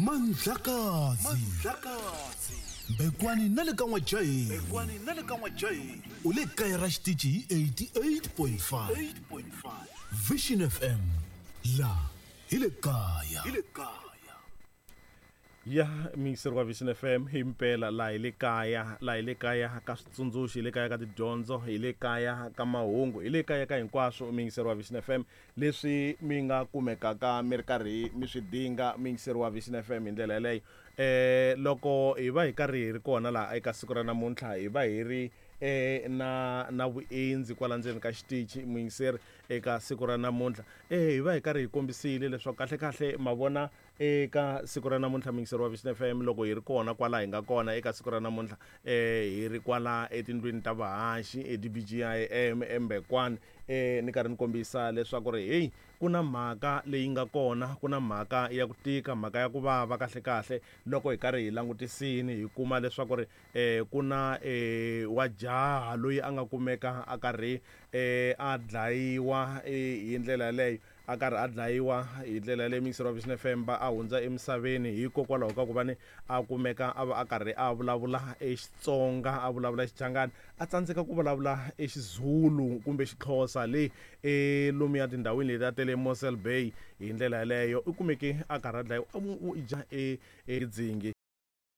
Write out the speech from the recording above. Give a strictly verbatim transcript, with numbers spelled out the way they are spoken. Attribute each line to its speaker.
Speaker 1: Mandlakazi Mbekwani na le ka N'wajahi u le kaya ra xitichi hi eighty-eight point five Vision F M la hi le kaya.
Speaker 2: Ya miyingiseri wa Vision F M hi mpela laha hi le kaya, laha hi le kaya ka switsundzuxo, hi le kaya ka tidyondzo, hi le kaya ka mahungu, hi le kaya ka hinkwaswo miyingiseri wa Vision F M leswi mi nga kumekaka mi ri karhi mi swi dinga miyingiseri wa Vision F M hi ndlela yeleyo. Eh, loko hi va hi karhi hi ri kona laha eka siku ra namuntlha hi va hi ri, eh, na, na vuendzi kwala ndzeni ka xitichi muyingiseri eka siku ra namuntlha. Eh, hi va hi karhi hi kombisile leswaku kahle kahle ma vona eka siku ra namuntlha muyingiseri wa Vision F M loko hi ri kona kwala hi nga kona eka siku ra namuntlha, eh, hi ri kwala etindlwini ta vahaxi e D B G I M eMbekwani, eh, ni karhi ni kombisa leswaku ri hey ku na mhaka leyi nga kona, ku na mhaka ya ku tika, mhaka ya ku vava kahle kahle loko hi karhi hi langutisini hi kuma leswaku ri, eh, ku na, eh, wa jaha loyi a nga kumeka a karhi, eh, a dlayiwa, eh, hi ndlela yaleyo, a karhi a dlayiwa hi ndlela yaleyo muyingiseri wa Vision F M va a hundza emisaveni hikokwalaho ka ku va ni a kumeka a va a karhi a vulavula eXitsonga, a vulavula Xichangani, a tsandzeka ku vulavula eXizulu kumbe Xixhosa le, e lomuya tindhawini leti a tele Mossel Bay hi ndlela yaleyo u kumeke a karhi a dlayiwa, a mu, u dya e, e dzingi.